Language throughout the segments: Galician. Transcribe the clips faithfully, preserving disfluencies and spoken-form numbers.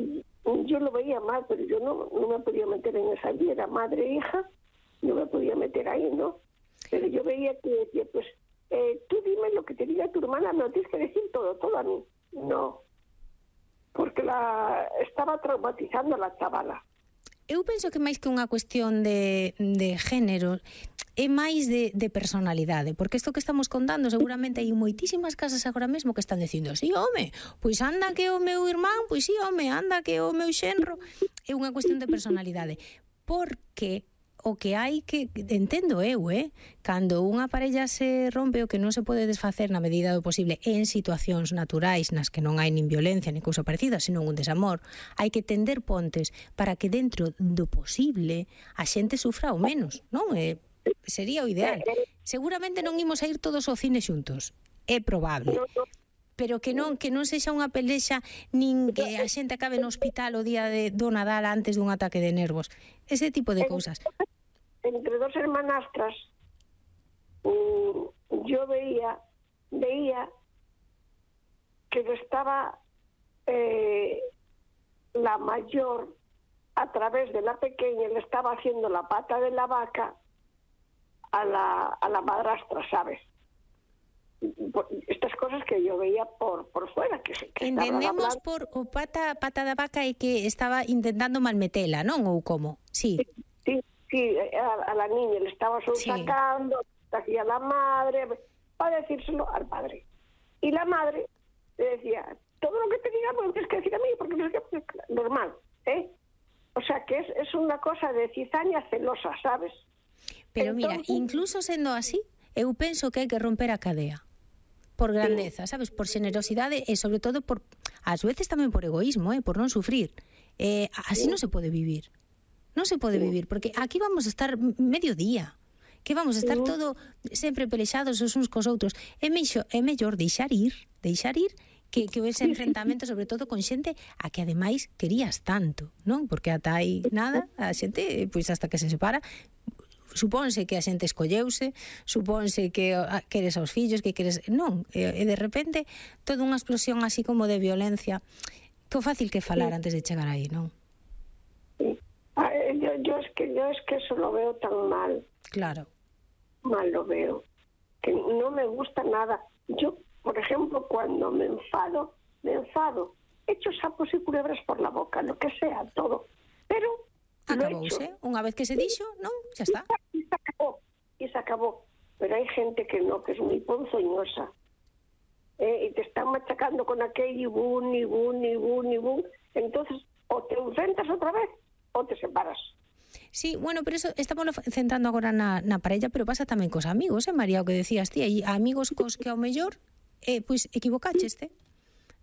y yo lo veía mal, pero yo no, no me podía meter en esa vida, era madre e hija, no me podía meter ahí, ¿no? Pero yo veía que decía, pues, eh, tú dime lo que te diga tu hermana, me lo tienes que decir todo, todo a mí. No, porque la estaba traumatizando a la chavala. Eu penso que máis que unha cuestión de, de género é máis de, de personalidade, porque isto que estamos contando seguramente hai moitísimas casas agora mesmo que están dicindo, sí, home, pois anda que o meu irmán, pois sí, home, anda que o meu xenro. É unha cuestión de personalidade, porque o que hai que, entendo eu, eh, cando unha parella se rompe, o que non se pode desfacer na medida do posible en situacións naturais nas que non hai nin violencia nin cousa parecida, senón un desamor, hai que tender pontes para que dentro do posible a xente sufra o menos, non? Eh, sería o ideal. Seguramente non imos a ir todos ao cine xuntos, é probable, pero que non que non sexa unha pelexa nin que a xente acabe no hospital o día de, do Nadal antes dun ataque de nervos, ese tipo de cousas. Entre dos hermanastras, um, yo veía, veía que estaba eh, la mayor a través de la pequeña, le estaba haciendo la pata de la vaca a la, a la madrastra, ¿sabes? Estas cosas que yo veía por, por fuera. Que, que entendemos por o pata, pata da vaca e que estaba intentando malmetela, non? Ou como? Sí. Sí, sí, sí a, a la niña le estaba sacando, sí. Hacía la madre, para decírselo al padre. Y la madre le decía, todo lo que te diga pues tienes que decir a mí, porque no es que, normal, ¿eh? O sea, que es, es una cosa de cizaña celosa, ¿sabes? Pero entonces, mira, incluso sendo así, eu penso que hai que romper a cadea. Por grandeza, sabes, por generosidade e sobre todo por, ás veces tamén por egoísmo, eh, por non sufrir. Eh, así non se pode vivir. Non se pode vivir, porque aquí vamos a estar medio día, que vamos a estar todo sempre pelexados os uns cos outros. É mellor, é mellor deixar ir, deixar ir que, que ese enfrentamento, sobre todo con xente a que ademais querías tanto, non? Porque ata aí nada, a xente, pois hasta que se separa, supónse que a xente escolleuse, supónse que queres aos fillos, que queres... Non, e de repente toda unha explosión así como de violencia, que o fácil que falar antes de chegar aí, non? Sí. Ah, yo, yo, es que, yo es que eso lo veo tan mal. Claro. Mal lo veo. Que no me gusta nada. Yo, por ejemplo, cuando me enfado, me enfado, echo sapos y culebras por la boca, lo que sea, todo. Pero... Acabouse, unha vez que se dixo, non? Xa está. E se acabou, e se acabou. Pero hai gente que no, que es moi ponzoñosa. Eh, e te están machacando con aquel y bun, y bun, y bun, y bun. Entonces, o te enfrentas outra vez, o te separas. Sí, bueno, pero eso estamos centrando agora na, na parella, pero pasa tamén cos amigos, eh, María, o que decías ti, hai amigos cos que ao mellor, eh, pois equivocacheste.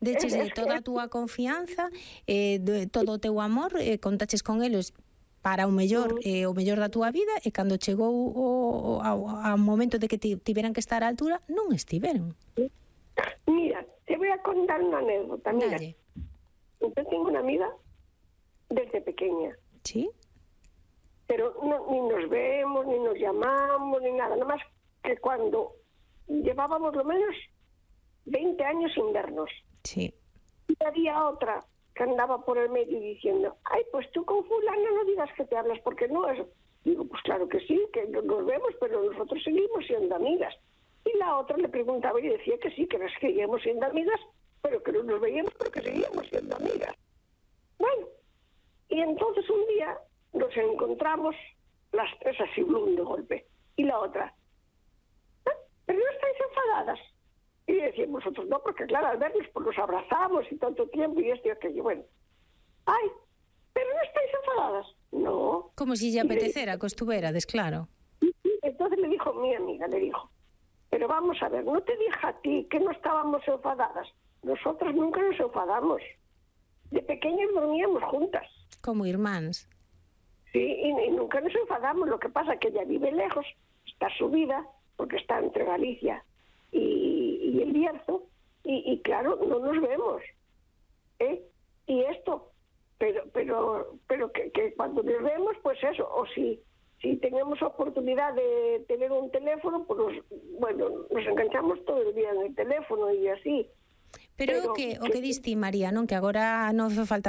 Deches de toda a túa confianza, eh, de todo o teu amor, eh, contaches con eles para o mellor, eh, o mellor da túa vida, e cando chegou o, o, ao momento de que tiveran que estar á altura, non estiveron. Mira, te voy a contar unha anécdota. Mira, Dalle. Yo tengo una amiga desde pequeña. ¿Sí? Pero no, ni nos vemos, ni nos llamamos, ni nada. Nada más que cuando llevábamos lo menos veinte años sin vernos. Sí. Y había otra que andaba por el medio diciendo, ay, pues tú con fulano no digas que te hablas, porque no es... Digo, pues claro que sí, que nos vemos, pero nosotros seguimos siendo amigas. Y la otra le preguntaba y decía que sí, que nos seguíamos siendo amigas, pero que no nos veíamos porque seguíamos siendo amigas. Bueno, y entonces un día nos encontramos las tres así, blum, de golpe. Y la otra, ¿ah, pero no estáis enfadadas? Y decíamos nosotros, no, porque claro, al vernos pues nos abrazamos y tanto tiempo y esto y aquello. Bueno, ay, pero no estáis enfadadas. No. Como si lle apetecera, que estuvérades, claro. Entonces le dijo mi amiga, le dijo, pero vamos a ver, no te dije a ti que no estábamos enfadadas. Nosotras nunca nos enfadamos. De pequeñas dormíamos juntas. Como irmáns. Sí, y, y nunca nos enfadamos. Lo que pasa es que ella vive lejos, está subida, porque está entre Galicia y, y el Bierzo, y, y claro, no nos vemos. ¿Eh? Y esto, pero pero pero que, que cuando nos vemos, pues eso, o si si tenemos oportunidad de tener un teléfono, pues nos, bueno, nos enganchamos todo el día en el teléfono y así. Pero, pero o que, o que diste, María, non? Que agora non falta